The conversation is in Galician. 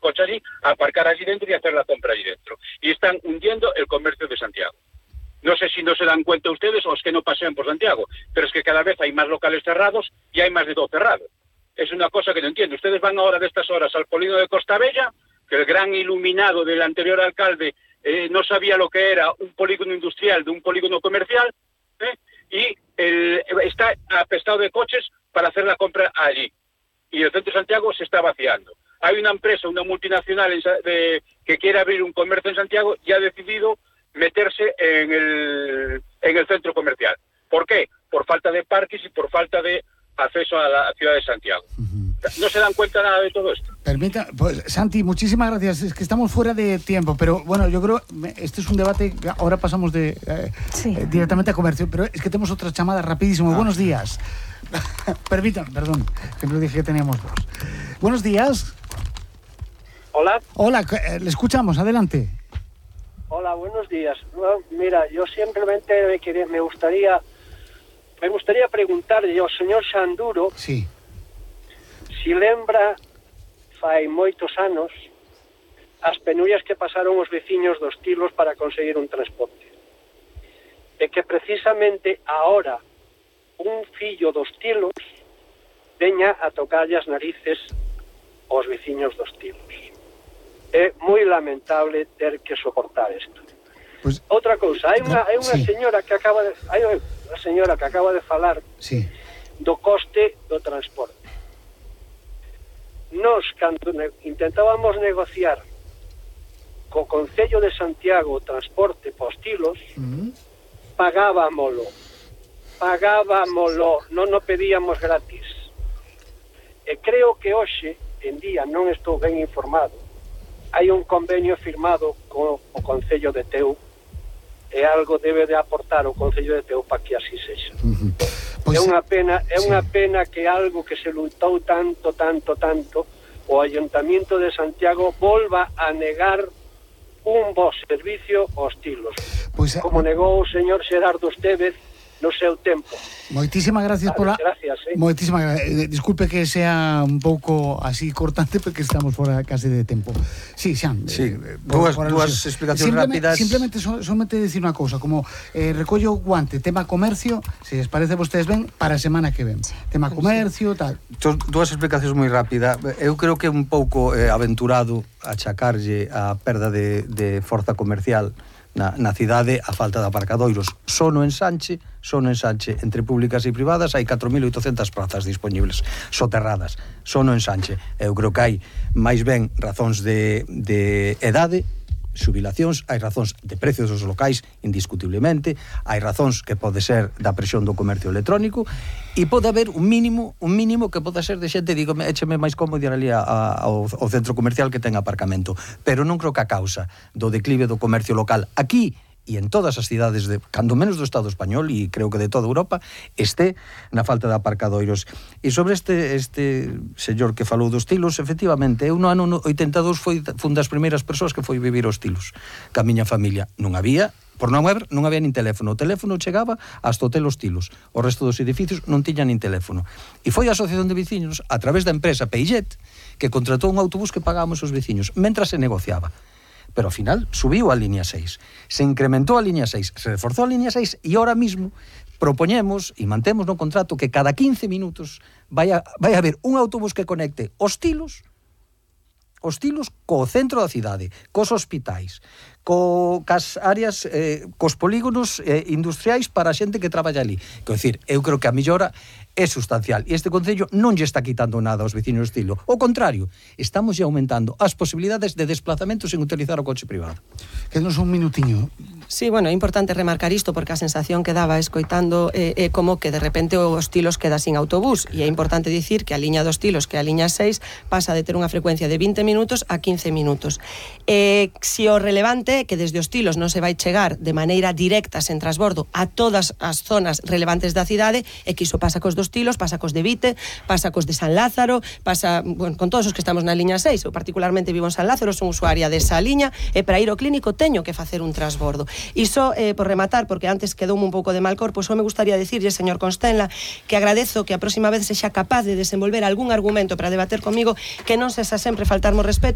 coche allí, aparcar allí dentro y hacer la compra allí dentro. Y están hundiendo el comercio de Santiago. No sé si no se dan cuenta ustedes o es que no pasean por Santiago, pero es que cada vez hay más locales cerrados y hay más de 2 cerrados. Es una cosa que no entiendo. Ustedes van ahora de estas horas al polígono de Costa Bella, que el gran iluminado del anterior alcalde no sabía lo que era un polígono industrial de un polígono comercial, y está apestado de coches para hacer la compra allí. Y el centro de Santiago se está vaciando. Hay una empresa, una multinacional que quiere abrir un comercio en Santiago y ha decidido meterse en el centro comercial. ¿Por qué? Por falta de parques y por falta de acceso a la ciudad de Santiago. ¿No se dan cuenta nada de todo esto? Permita, pues, Santi, muchísimas gracias. Es que estamos fuera de tiempo, pero bueno, yo creo este es un debate. Ahora pasamos directamente a comercio, pero es que tenemos otra llamada rapidísimo. Buenos días. Permítanme, perdón, que no dije que teníamos 2. Buenos días. Hola. Hola, le escuchamos, adelante. Hola, buenos días. No, mira, yo simplemente me gustaría preguntarle ao señor Xanduro si lembra fai moitos anos as penurias que pasaron os veciños dos Tilos para conseguir un transporte. E que precisamente ahora un fillo dos Tilos veña a tocarlle as narices aos veciños dos Tilos. É moi lamentable ter que soportar isto. Pues, outra cousa, hai unha señora que acaba de falar do coste do transporte. Nos, cando intentábamos negociar co Concello de Santiago o transporte pos Tilos, pagábamolo, non o pedíamos gratis. E creo que hoxe en día, non estou ben informado, hai un convenio firmado co Concello de Teu e algo debe de aportar o Concello de Teu para que así sexa. Pues, é unha pena que algo que se lutou tanto o Ayuntamiento de Santiago volva a negar un bo servicio aos Tilos, como negou o señor Xerardo Estévez no seu tempo. Moitísimas gracias gracias, moitísimas gracias. Disculpe que sea un pouco así cortante porque estamos fora case de tempo. Sí, Xan. Sí, dúas explicacións rápidas. Simplemente solamente decir unha cousa, como recollo guante, tema comercio, se les parece a vostedes ben, para a semana que ven. Tema comercio, tal. Dúas explicacións moi rápidas. Eu creo que é un pouco aventurado achacarlle a perda de forza comercial na cidade a falta de aparcadoiros. Só no ensanche entre públicas e privadas hai 4.800 prazas dispoñibles soterradas, só no ensanche. Eu creo que hai máis ben razóns de edade, xubilacións, hai razóns de precios dos locais, indiscutiblemente, hai razóns que pode ser da presión do comercio electrónico e pode haber un mínimo que pode ser de xente, digo, écheme máis cómodo ir ali ao centro comercial que ten aparcamento, pero non creo que a causa do declive do comercio local aquí e en todas as cidades, cando menos do Estado español e creo que de toda Europa, este na falta de aparcadoiros. E sobre este señor que falou dos Tilos, efectivamente, eu no ano 82 fui das primeiras persoas que foi vivir aos Tilos, ca miña familia. Non había nin teléfono. O teléfono chegaba hasta o Hotel Os Tilos. O resto dos edificios non tiñan nin teléfono. E foi a Asociación de Veciños, a través da empresa Peugeot, que contratou un autobús que pagábamos os veciños, mentras se negociaba. Pero ao final subiu a línea 6, se incrementou a línea 6, se reforzou a línea 6 e ahora mismo propoñemos e mantemos no contrato que cada 15 minutos vai a haber un autobús que conecte os Tilos co centro da cidade, cos hospitais, cas áreas, cos polígonos industriais para a xente que traballa ali. Quero dicir, eu creo que a mellora é sustancial e este Concello non lle está quitando nada aos veciños do Tilo. Ao contrario, estamos lle aumentando as posibilidades de desplazamento sen utilizar o coche privado. Quédanos un minutiño. Sí, bueno, é importante remarcar isto porque a sensación que daba escoitando é como que de repente os Tilos queda sin autobús e é importante dicir que a liña dos Tilos, que a liña 6, pasa de ter unha frecuencia de 20 minutos a 15 minutos. Si o relevante é que desde os Tilos non se vai chegar de maneira directa sen transbordo a todas as zonas relevantes da cidade, e que iso pasa cos dos Tilos, pasa cos de Vite, pasa cos de San Lázaro, pasa con todos os que estamos na liña 6. Eu particularmente vivo en San Lázaro, son usuaria desa liña e para ir ao clínico teño que facer un transbordo. Iso, por rematar, porque antes quedoume un pouco de mal corpo, só me gustaría dicirlle, señor Constenla, que agradezo que a próxima vez sexa capaz de desenvolver algún argumento para debater comigo, que non sexa sempre faltarmo respeto,